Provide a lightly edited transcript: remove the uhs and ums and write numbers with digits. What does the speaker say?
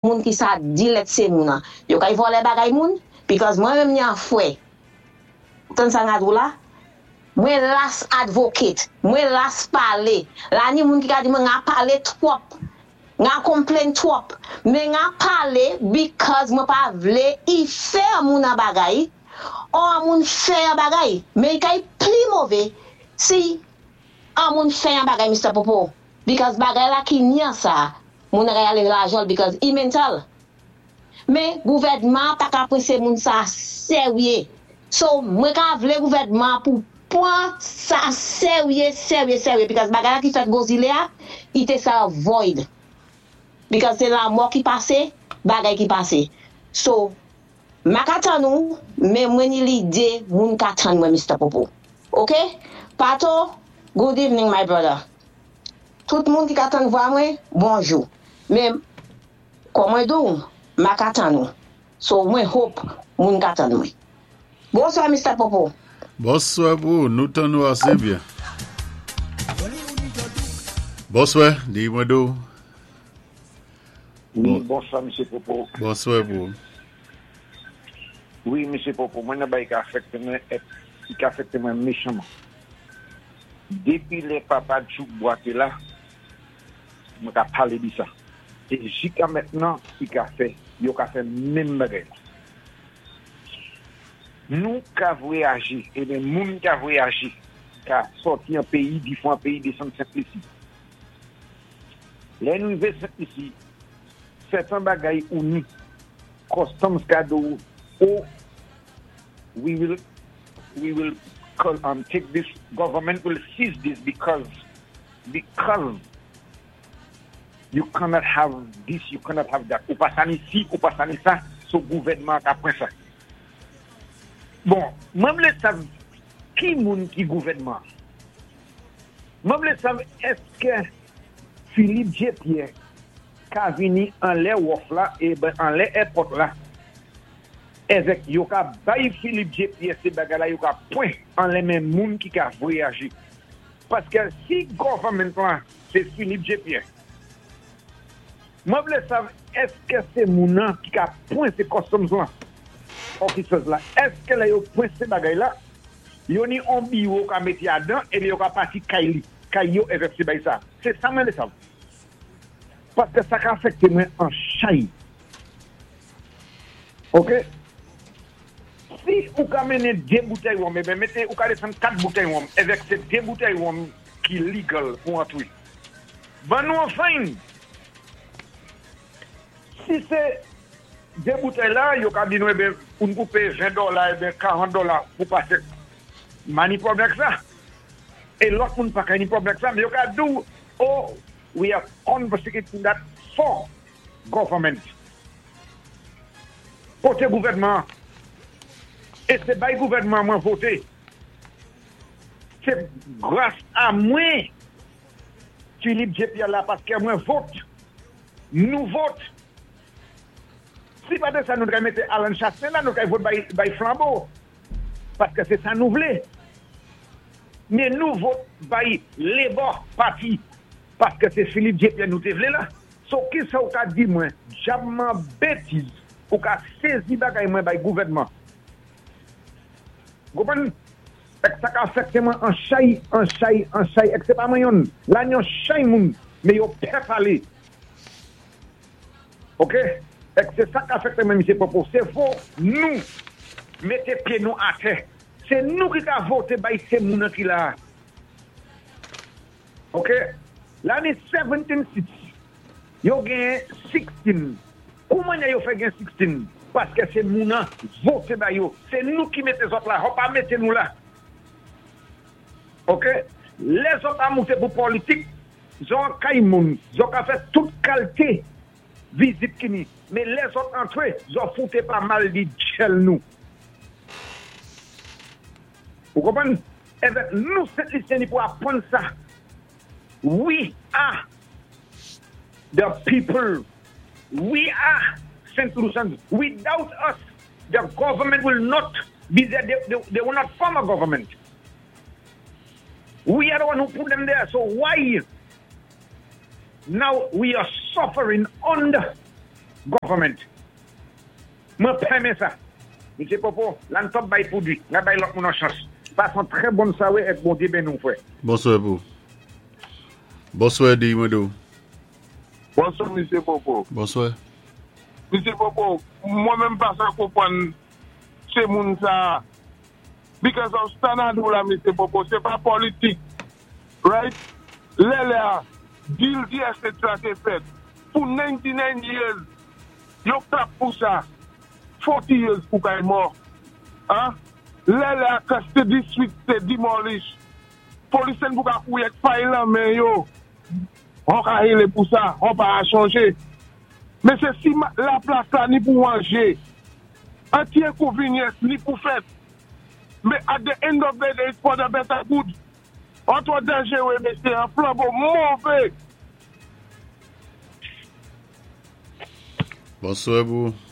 Moun ki sa di lèt sé moun an. Yo kay vòlè bagay moun, because mwen menm ni an fwè. Tann sa nga di w la? Mwen las advocate, mwen las palé. La ni moun ki ka di mwen nga palé twòp. Nga complain twòp. Men nga palé because mwen pa vlé i fè moun an bagay, or an moun fè an bagay. Men i kay pli mové si an moun fè an bagay, Mr. Popo. Because bagay la ki nyan sa, moun kay alé lajan because i mental. Men gouvèdman pa ka pwésé moun sa séryé. So, mwen ka vlé gouvèdman pou pwan sa séryé, séryé, séryé. Because bagay la ki fèt Gwo Zilé a, i té sa void. Because sé lamò ki pasé, bagay ki pasé. So, ma ka tann nou, men mwen ni lidé moun ka tann mwen, Mr. Popo. Ok? Pato, good evening, my brother. Tout moun ki ka tann vwa mwen, bonjou. Men, kon mwen di ou, ma ka tann nou. So, mwen hope moun ka tann mwen. Bonswa, Mr. Popo. Bonswa pou nou tann nou asé byen. Bonswa, di mwen do. Wi, bonswa, M. Popo. Bonswa pou. Wi, M. Popo, mwen nan bay ka afekte mwen, ki afekte mwen mechanman. Dépi lè papa Djouk Bwate la, mwen ka palé di sa. É jika mentnan, i ka fè, yo ka fè menm bagay la. Nou ka vwayajé, é moun ka vwayajé, ka sòti an péyi, difwan péyi désann Sent Lisi. Lè nou rivé Sent Lisi, sèten bagay ou ni, customs ka di ou, "Oh, we will take this, government will seize this because you cannot have this, you cannot have that. Ou pa sa ni si, ou pa sa ni sa, so gouvèdman ka pran sa." Bon, mwen vlé sav ki moun ki gouvèdman. Mwen vlé sav èské Philippe J. Pierre ka vini anlè wharf la é ben anlè airport la èvèk yo ka bay Philippe J. Pierre sé bagay la yo ka pwan anlè men moun ki ka vwayajé. Paské si government la sé Philippe J. Pierre, mwen vlé sav èské sé moun nan ki ka pwan sé customs la, officers la, èské lè yo pwan sé bagay la, yo ni on biwo ka mété adan é yo ka pati kay li, kay yo èvèk sé bay sa. Sé sa mwen vlé sav. Paské sa ka afekté mwen an chay. Ok? Si ou ka mennen dé boutèy wonm, é ben mété, ou ka désann kat boutèy wonm, èvèk sé dé boutèy wonm ki legal pou antré. Ban nou an fine. Si sé dé boutèy la, yo ka di nou é ben pou nou koupé 20 dola, é ben 40 dola pou pasé. Ma ni pwoblèm ak sa. É lòt moun pa ka ni pwoblèm ak sa, men yo ka di ou, "Oh, we are confiscating that for government." Koté gouvèdman, é sé bay gouvèdman mwen voté. Sé gras a mwen Philippe J. Pierre la paské mwen vote. Nou vote. Si pa dé sa nou té mété Alan Chassin la, nou té vote bay, bay Flambeau. Paské sé sa nou vlé. Men nou vote bay Labour Party paské sé Philippe J. Pierre nou té vlé la. So ki sa ou ka di mwen, djabman bétiz, ou ka sézi bagay mwen bay gouvèdman. Konpwann? Èk sa ka afekté mwen an chay, an chay, an chay, èk sé pa mwen yonn. La yon chay moun, men yo pè palé. Ok? Èk sé sa ka afekté mwen, Misye Popo. Sé fò nou mété pyé nou atè. Sé nou ki ka voté bay sé moun an ki la. Ok? La ni 17 seats. Yo gen 16. Kouman yo fè gen 16? Paské sé moun an voté bay yo. Sé nou ki mété zòt la, yo pa mété nou la. Ok? Lè zòt a mouté pou politik, zòt kay moun, zòt ka fè tout kalité vizit ki ni. Men lè zòt antré, zòt fouté pa mal di djèl nou. Ou konpwann? Èvèk nou Sent Lisyen ni pou apwann sa. We are the people. We are St. Lucians. Without us, the government will not be there. They will not form a government. We are the one who put them there. So why now we are suffering under? Government. Mwen pa renmen sa. Misye Popo, la n pap bay pou di, n ap bay lòt moun an chans. Pase yon trè bòn swaré èk Bondye benni w frè. Bonswè pou ou. Bonswè di mwen di w. Bonswa misye Popo. Bonswè. Misye Popo, mwen menm pa sa konpwann se moun sa because of sa na di w la misye Popo se pa politik right lè lè a deal DSH la te fèt pou 99 years yo clap pou sa 40 years pou kay mò ah lè lè a custody suite te demolish police n pou ka kouri ak fay lan men yo hon ka hele pou sa hon pa a chanje men se si la plas la ni pou manje an ti inconvenience ni pou fèt men at the end of the day it's for the better good an twò danjere mesye an flanbo move. Bonswa pou ou.